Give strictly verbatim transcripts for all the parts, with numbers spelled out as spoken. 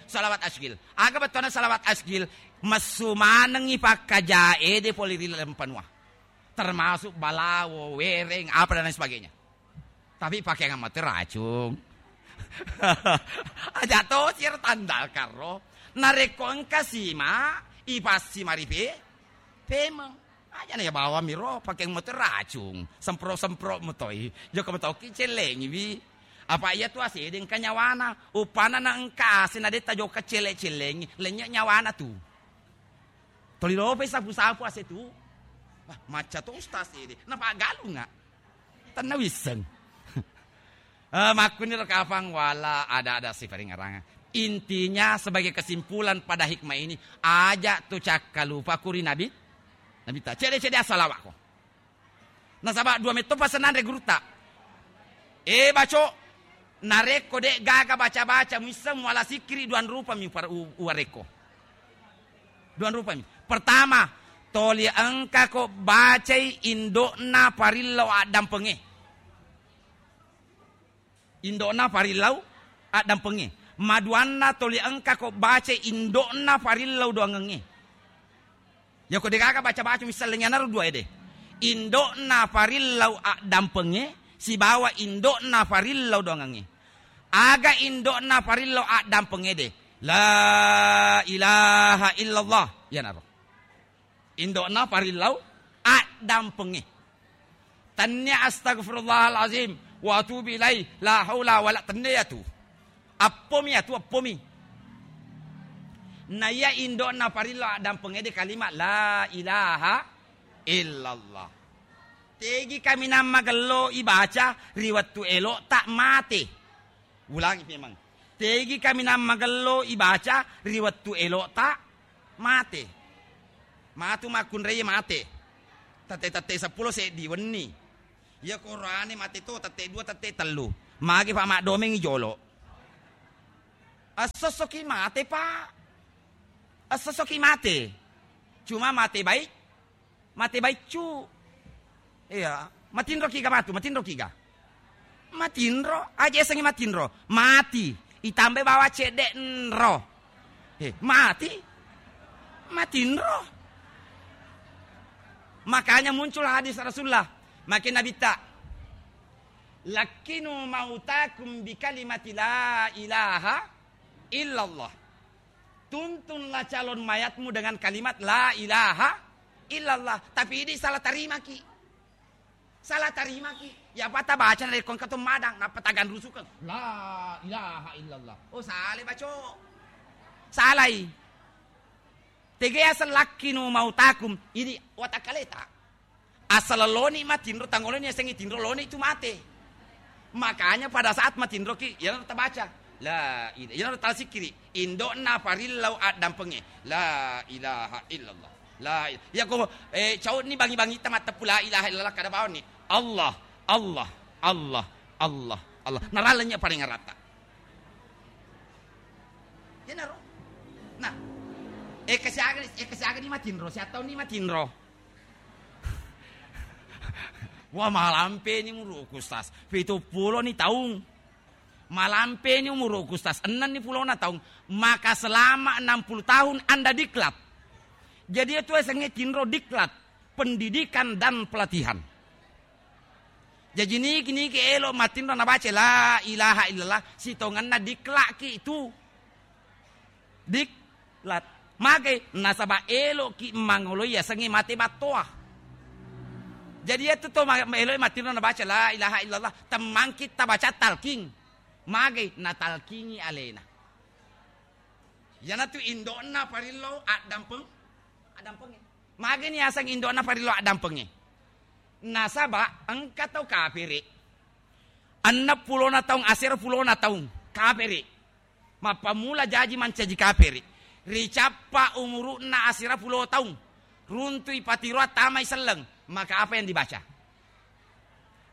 Salawat asgil. Aga bettuanna salawat asgil? Messu manengngi pakkajae de pole ri laleng panua. Termasuk balawo, wereng, apa dan lain sebagainya. Tapi pakeang mate racung. Aja to sir tandal karo. Narekko engka sima, ipassi maripe, pemeng. Aja na ya bawang miro, pakeang mate racung. Sempro-sempro metoi. Joko metoki celengi wi. Apa iya tu ase de engka nyawana. Upana na engka ase na de tajoka cele-celengi. Lennye nyawana tu. Toli lope sapu-sapu ase tu. Wah, macca to ustaz ede. Napa galunga? Tenna wisseng. Eh, makkuniro kapang wala ada-ada siparingaranga. Intinya sebagai kesimpulan pada hikmah ini, aja tu cakkalupa kuri Nabi, Nabi ta. Cede-cede assalawakko. Nasaba dua metto pasenanre gurutta. Eh, baco, narekko de gaga baca-baca muisseng muala sikkiri dua rupami upar-, u-, uwarekko. Dua rupami. Pertama, toli engkako bacai indo'na parillau addampengnge. Indo'na parillau addampengnge. Maduanna toli engkako bacai indo'na parillau doangengnge. Yako degaga baca-baca misalnya naro dua ede. Indo'na parillau addampengnge sibawa indo'na parillau doangengnge. Aga indo'na parillau addampengnge de? La ilaha illallah. Iyanaro. Indo'na parillau addampengnge. Tennia astagfirullahalazim wa atubu ilaih, la haula wala, tennia tu. Appomi atu, appomi. Na iya indo'na parillau addampengnge de kalimat la ilaha illallah. Tegi kaminang magello ibaca ri wettu elo'ta mate. Ulangi memang. Tegi kaminang magello ibaca ri wettu elo'ta mate. Matu makkunrai mate. Tette-tette seppulo seddi wenni. Iya korane mate to tette dua, tette tellu. Magi pa maddomengi jolo. Esso-essoki mate, Pak. Esso-essoki mate. Cuma mate baik. Mate baiccu. Iya, matinro kiga matu, matinro kiga? Matinro, aja esengngi matinro. Mati, itambai bawa cedde enro. Eh, mati. Matinro. Makanya muncul hadis Rasulullah. Makin Nabitta, "Lakkinu mautakum bi kalimati la ilaha illallah." Tuntunlah calon mayatmu dengan kalimat la ilaha illallah. Tapi idi salah tarimaki. Salah tarimaki. Ya apa tabaca narekko engka to madang, nappa taganrusukeng. La ilaha illallah. Oh, sale baco. Salai. Tege asal lakkinu mautakum. Idi watakkaleta. Asal loni matinro, tangoloni yasengnge tinro, loni tu mate. Makanya pada saat matinroki, iyanaro tabaca. La ila-, iyanaro tasikkiri. Indo'na parillau addampengnge. La ilaha illallah. La il-, yako, eh, cauni bangi-bangita matteppu la ilaha illallah kada bawanni. Allah, Allah, Allah, Allah, Allah. Narallenya paling rata. Iyanaro. Nah, eh, kesiaga, eh, kesiaga ni matinro, siattauni matinro. Wah, malampeni umuru'ku, Ustaz. Pitu pulo ni taung. Malampeni umuru'ku, Ustaz. Enneng ni pulona taung. Maka selama enam puluh tahun Anda diklat. Jadi itu esengnge tinro diklat. Pendidikan dan pelatihan. Jaji niki-niki elo matinro nabaca la ilaha illallah, sitongenna diklakki tu. Diklat. Magai? Nasaba eloki mangoloi yasengnge mate battoa. Jadi iyatu to ma-, eloe matinro nabaca la ilaha illallah, temmangki tabaca talking. Magai? Natalkingi alena. Iyanatu indo'na parillau addampeng, addampengnge. Magani yaseng indo'na parillau addampengnge? Nasaba engka tau kapere. Enneng pulona taung, asera pulona taung kapere. Mappammula jaji mancaji kapere. Ricappa umuru'na asera pulo taung. Runtui patiroa tamai selleng. Maka apa yang dibaca?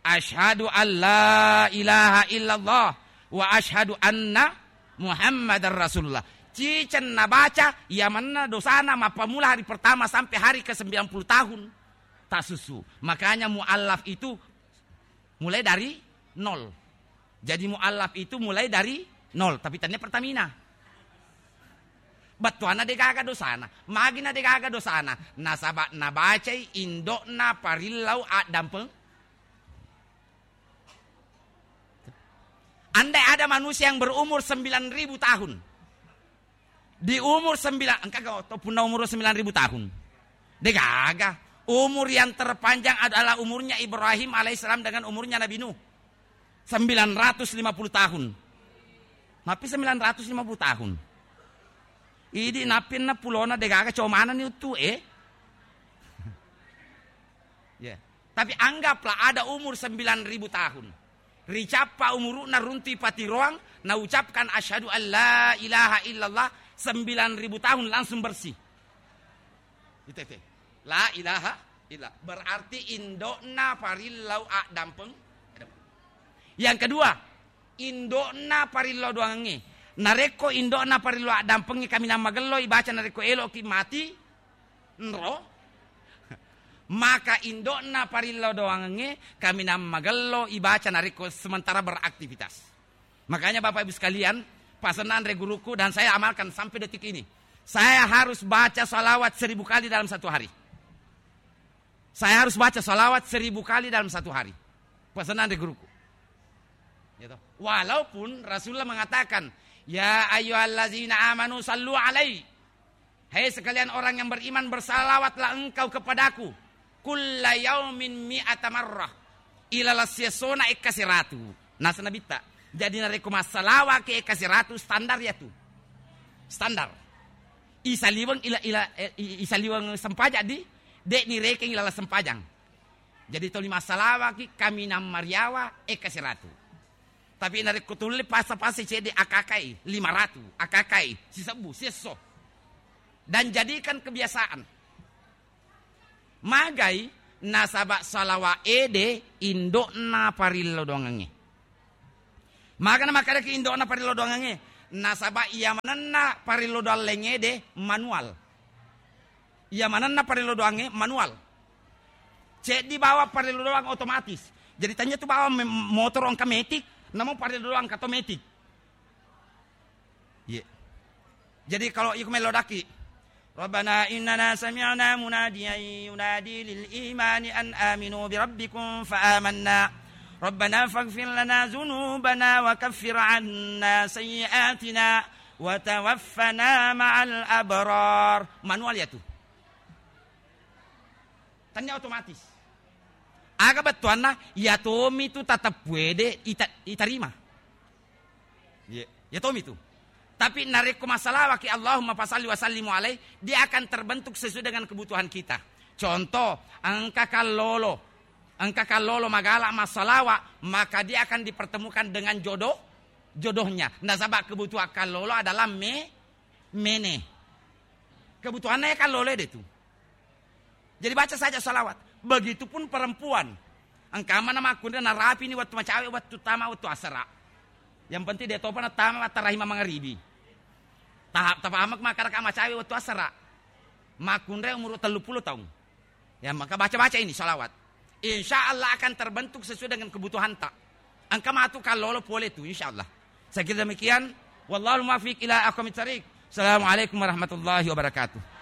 Asyhadu an la ilaha illallah wa asyhadu anna Muhammadar Rasulullah. Ciceng nabaca, iya manna dosana mappammula hari pertama sampai hari ke sembilan puluh tahun tasusu. Makanya muallaf itu mulai dari nol. Jadi muallaf itu mulai dari nol, tapi tania pertamina. Bettuanna degaga dosana. Magina degaga dosana? Nasaba nabacai indo'na parillau addampeng. Andai ada manusia yang berumur sembilan ribu tahun. Di umur sembilan, engka ga to punna umur sembilan ribu tahun? Degaga. Umur yang terpanjang adalah umurnya Ibrahim alaihissalam dengan umurnya Nabi Nuh. Sembilan ratus lima puluh tahun. Mapi sembilan ratus lima puluh tahun. Idi napinna pulona degaga comanani uttu e. Ya. Tapi anggaplah ada umur sembilan ribu tahun. Ricappa umuru'na, runtui patiroang, naucapkan asyhadu an la ilaha illallah, sembilan ribu tahun langsung bersih. Itu, itu. La ilaha illa. Berarti indo'na parillau addampeng. Yang kedua, indo'na parillau doangengnge. Narekko indo'na parillau addampengnge kaminang magello ibaca narekko elo'ki mati, nro, maka indo'na parillau doangengnge kaminang magello ibaca narekko sementara beraktivitas. Makanya Bapak Ibu sekalian, pasenna anre guruku dan saya amalkan sampai detik ini. Saya harus baca salawat seribu kali dalam satu hari. Saya harus baca salawat seribu kali dalam satu hari. Pasenna anre guruku. Gitu. Walaupun Rasulullah mengatakan, "Ya ayyuhallazina amanu sallu alai." Hai sekalian orang yang beriman, bersalawatlah engkau kepadaku. Kulla yaumin mi'ata marrah. Ilala siessona ekka siratu. Nasa Nabitta. Jadi narekko massalawaki ekka siratu, standar ya tu. Standar. Isaliweng ila, ila, eh, i-, isaliweng sempajang di, de' nirekeng ilala sempajang. Jadi toli massalawaki kaminang mariawa ekka siratu. Tapi narekko tulle pasa-pasa cedde akakai lima ratu, akakai sisebbu, siesso. Dan jadikan kebiasaan. Magai nasaba salawa ede indo'na parillo doangengnge. Magana makkadaki indo'na parillo doangengnge, nasaba iya manenna parillo doang laing ede manual. Iya manenna parillo doangnge manual. Ceddi bawang parillo doang otomatis. Jadi tania tu bawang me-, motoro engka metik, namo parillo doang engka to metik. Iya. Jadi kalau iku melo daki, "Rabbana innana sami'na munadiyan yunadi lil imani an aminu bi rabbikum fa amanna. Rabbana faghfir lana dzunubana wa kaffir anna sayyi'atina wa tawaffana ma'al abrar." Manual ya tu. Tania otomatis. Aga bettuanna, iya tomi tu tateppu ede ita-, itarima. Iya, iya tomi tu. Tapi narekko massalawaki Allahumma fasalli wa sallimu alaih, dia akan terbentuk sesuai dengan kebutuhan kita. Contoh, engka kallolo, engka kallolo magala massalawa, maka dia akan dipertemukan dengan jodoh, jodohnya. Nasaba kebutuhan kallolo adalah me-, mene. Kebutuhannya ya kallolo ede tu. Jadi baca saja salawat. Begitupun perempuan. Engka mana makkunrai narapini wettu macawe, wettu tama, wettu asara. Yang penting de topa natama mattarahi mangaribi. Tahap tapamak makkadaka macawe wettu asara. Makkunrai umur tellu puluh tahun. Ya, maka baca-baca ini salawat. Insya Allah akan terbentuk sesuai dengan kebutuhanta. Engka matu kallolo pole tu, insya Allah. Saya kira demikian. Wallahul muwaffiq ila aqwamit thariq. Assalamualaikum warahmatullahi wabarakatuh.